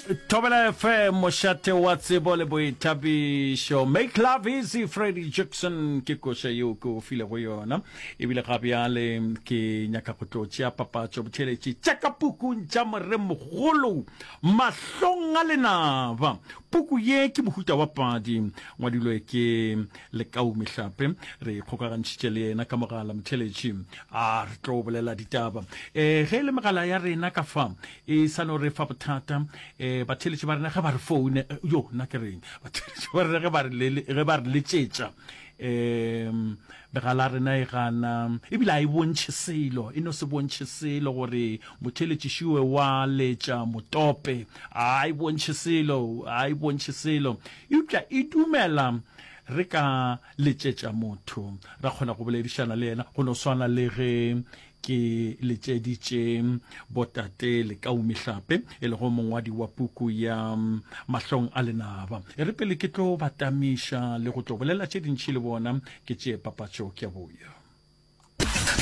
Thobela FM, mošate wa tsebo le boithabišo. Make love easy, Freddie Jackson ke koša yeo ke o filego yona. Ebile ga bjale ke nyaka go tlo tšea papatšo botheletši tša ka pukung tša moremogolo mahlong a lenaba. Puku ye ke mohuta wa padi, ngwadilwe ke Lekau Mehlape. Re ikgokagantšhitše le yena ka mogala motheletši. A re tlo bolela ditaba. E, ge e le megala ya rena ka fa e sa no re fa bothata. E, batheletši ba rena ge ba re foune, yo nna ke reng? Batheletši ba rena ge ba re ge ba re letšetša, um megala ya rena e gana ebile a e bontšhe selo, e no se bontšhe selo gore motheletši wa letša motope. A e bontšhe selo, a e bontšhe selo. Eupša e dumela re ka letšetša motho, ra kgona go boledišana le yena, go no swana le ge ke letšeditše botate Lekau Mehlape, e lego mongwadi wa puku ya Mahlong a Lenaba. E re pele ke tlo ba tamiša le go tlo bolela tše dintši le bona, ke tšee papatšo ke a boya.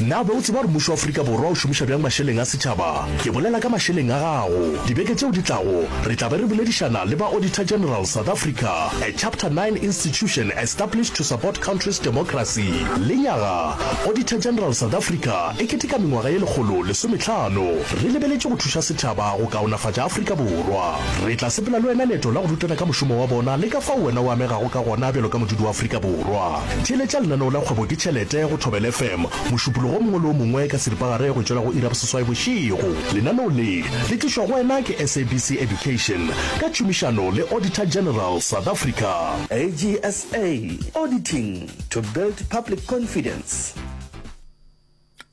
Na o be o tseba gore mmušo wa Afrika Borwa o šomiša bjang mašeleng a setšhaba? Ke bolela ka mašeleng a gago. Dibeke tšeo di tlago, re tla be re boledišana le ba Auditor General South Africa, a Chapter 9 institution established to support country's democracy. Lenyaga, Auditor General South Africa e keteka mengwaga ye 115. Re lebeletše go thuša setšhaba go kaonafatša Afrika Borwa. Re tla sepela le wena leeto la go rutana ka mošomo wa bona le ka fao wena o amegago ka gona bjalo ka modudi wa Afrika Borwa. Theeletša lenaneo la Kgwebo ke Tšhelete go Thobela FM Mošupologo o mongwe le o mongwe ka seripagare go tšwela go iri ya boseswai bošego. Lenaneo le le tlišwa go wena ke SABC Education ka tšhomišano le Auditor General South Africa. AGSA, Auditing to build public confidence.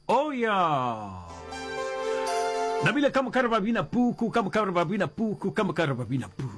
Oh ya. Nabile ka moka re ba bina puku, ka moka re ba bina puku, ka moka re ba bina puku.